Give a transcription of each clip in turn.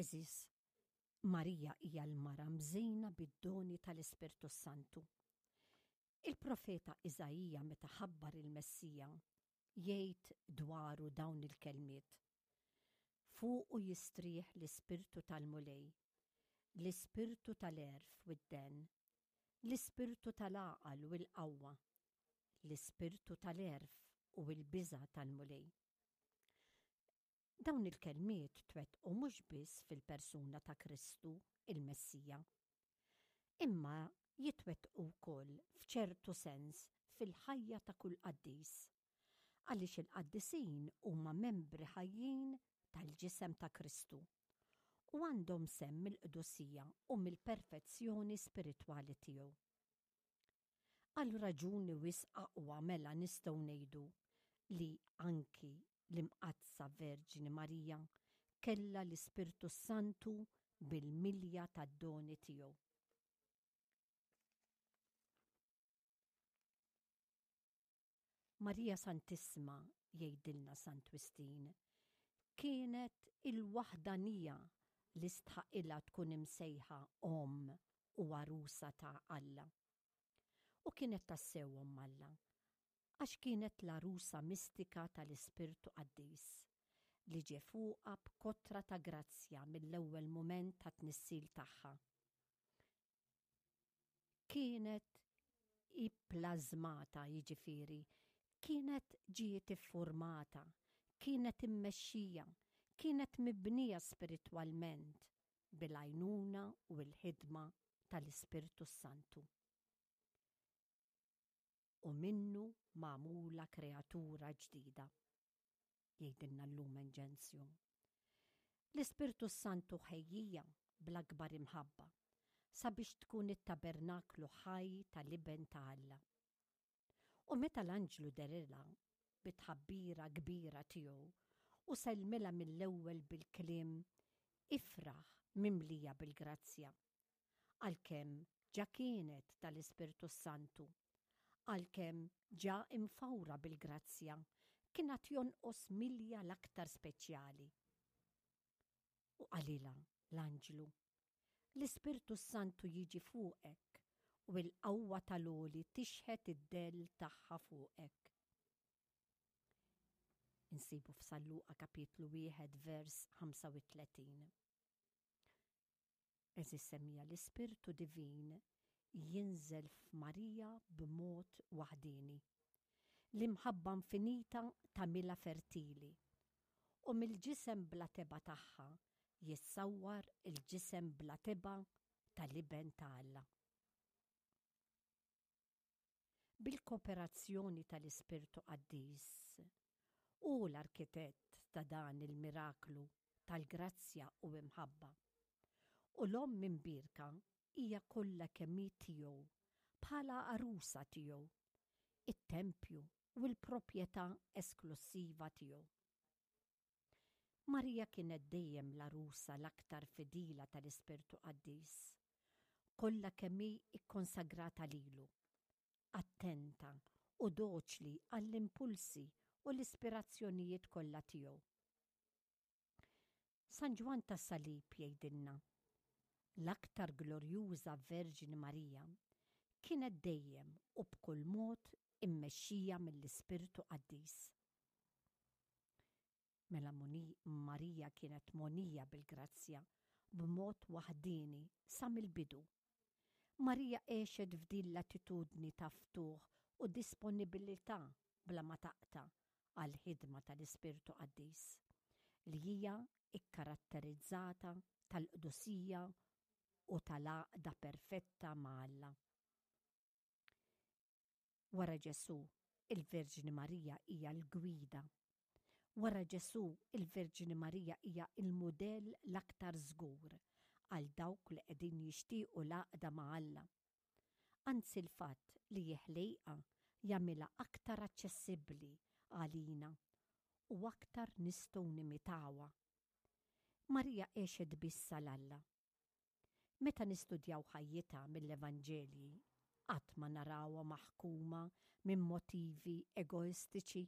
Għeżież, Marija hija l-mara mżejna bid-doni tal-Ispirtu s-Santu. Il-profeta Iżaija meta ħabbar il-Messija jgħid dwaru dawn il-kelmiet, Fuqu jistrieħ l-Ispirtu tal-Mulej, l-Ispirtu tal-għerf u d-dehen, l-Ispirtu tal-għaqal u l-qawwa, l-Ispirtu tal-għerf u l-biża' tal-Mulej. Dawn il-kelmiet twettqu mhux biss fil-persuna ta' Kristu, il-Messija, imma jitwettqu wkoll f'ċertu sens fil-ħajja ta' kull qaddis, għaliex il-qaddisin huma membri ħajjin tal-ġisem ta' Kristu u għandhom sehem mill-qdusija u mill-perfezzjoni spiritwali tiegħu. Għal raġuni wisq aqwa mela nistgħu ngħidu li anki l-Imqaddsa Verġni Marija kellha l-Ispirtu s-Santu bil-milja tad-doni tiegħu. Marija Santissima, jgħidilna Sant Wistin, kienet il-waħdanija li stħaqilha tkun imsejħa Omm u Għarusa ta' Alla. U kienet tassew Omm Alla, għax kienet l-għarusa mistika tal-Ispirtu Qaddis, li ġie fuqha b'kotra ta' grazzja mill-ewwel mument tat-tnissil tagħha. Kienet ipplażmata, jiġifieri, kienet ġiet iffurmata, kienet immexxija, kienet mibnija spiritwalment bil-għajnuna u l-ħidma tal-Ispirtu s-Santu. U minnu magħmula kreatura ġdida. Jgħidilna l-Lumen Gentium. L-Ispirtu s-Santu ħejjija bl-akbar imħabba sabiex tkun it-tabernaklu ħaj tal-Iben ta' Alla. U meta l-anġlu derilha bit-tħabbira kbira tiegħu u sellmilha mill-ewwel bil-kliem Ifraħ mimlija bil-grazzja, għalkemm ġa kienet tal-Ispirtu s-Santu, għalkemm ġa imfawra bil-grazzja, kien għad jonqos milja l-aktar speċjali. U qalilha l-anġlu, L-Ispirtu s-Santu jiġi fuqek u l-qawwa tal-Għoli tixħet id-dell tagħha fuqek. Insibu f'San Luqa kapitlu 1 vers 35. Għeżież semmiegħa l-Ispirtu Divin jinżel f'Marija b'mod waħdieni. L-imħabba infinita tagħmilha fertili u mill-ġisem bla tebgħa tagħha jissawwar il-ġisem bla tebgħa tal-Iben ta' Alla. Bil-kooperazzjoni tal-Ispirtu Qaddis, hu l-arkitett ta' dan il-miraklu tal-grazzja u imħabba. U l-Omm Imbierka hija kollha kemm hi tiegħu bħala għarusa tiegħu, it-tempju u l-proprjetà esklussiva tiegħu. Marija kienet dejjem l-għarusa l-aktar fidila tal-Ispirtu Qaddis, kollha kemm hi kkonsagrata lilu, attenta u doċli għall-impulsi u l-ispirazzjonijiet kollha tiegħu. San Ġwann tas-Salib jgħidilna, L-aktar glorjuża Verġni Marija kienet dejjem u b'kull mod immexxija mill-Ispirtu Qaddis. Mela Marija kienet mogħnija bil-grazzja b'mod waħdieni sa mill-bidu. Marija għexet f'din l-attitudni ta' ftuħ u disponibilità bla ma taqta' għall-ħidma tal-Ispirtu Qaddis, li hija kkaratterizzata tal-qdusija u tal-għaqda perfetta ma' Alla. Wara Ġesù, il-Verġni Marija hija l-gwida. Wara Ġesù, il-Verġni Marija hija l-mudell l-aktar żgur għal dawk li qegħdin jixtiequ l-għaqda ma' Alla. Anzi l-fatt li hi ħlejqa jagħmilha aktar aċċessibbli għalina u aktar nistgħu nimitawha. Marija għexet biss għal Alla. Meta nistudjaw ħajjitha mill-Evanġelji, qatt ma narawha maħkuma minn motivi egoistiċi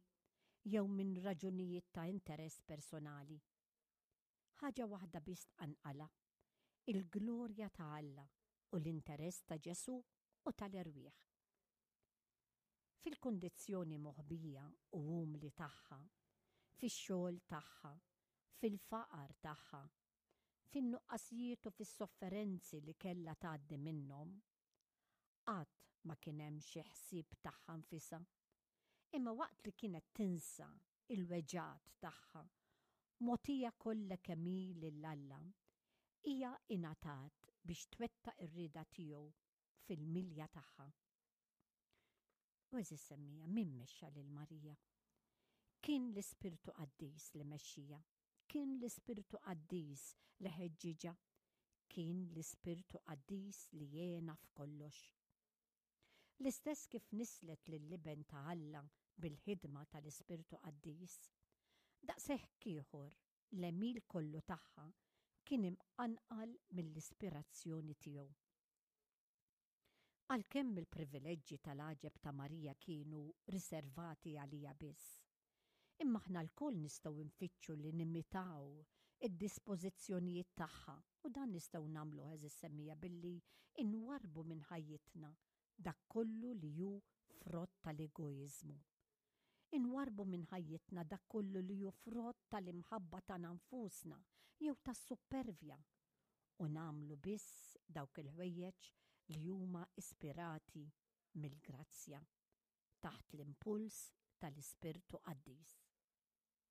jew minn raġunijiet ta' interess personali. Ħaġa waħda biss tqanqalha, il-glorja ta' Alla u l-interess ta' Ġesù u tal-erwieħ. Fil-kundizzjoni moħbija u umli tagħha, fix-xogħol tagħha, fil-faqar tagħha, fin-nuqqasijiet u fis-sofferenzi li kellha tgħaddi minnhom, qatt ma kien hemm xi ħsieb tagħha nfisha, imma waqt li kienet tinsa l-weġgħat tagħha, mogħtija kollha kemm hi lil Alla, hija ingħatat biex twettaq ir-rieda tiegħu fil-milja tagħha. U għeżież semmija, min mexxa lil Marija? Kien l-Ispirtu Qaddis li mexxija. Kien l-Ispirtu Qaddis li ħeġġiġha. Kien l-Ispirtu Qaddis li għenha f'kollox. L-istess kif nisslet lill-Iben ta' Alla bil-ħidma tal-Ispirtu Qaddis, daqshekk ieħor l-għemil kollu tagħha kien imqanqal mill-ispirazzjoni tiegħu. Għalkemm il-privileġġi tal-għaġeb ta' Marija kienu riservati għaliha biss, imma aħna lkoll nistgħu nfittxu li nimitaw id-dispożizzjonijiet tagħha u dan nistgħu nagħmluh għeżież semmiegħa billi nwarrbu minn ħajjitna dak kollu li hu frott tal-egoiżmu. Inwarrbu minn ħajjitna dak kollu li hu frott tal-imħabba tagħna nfusna jew tas-suppervja u nagħmlu biss dawk il-ħwejjeġ li huma ispirati mill-grazzja, taħt l-impuls tal-Ispirtu Qaddis.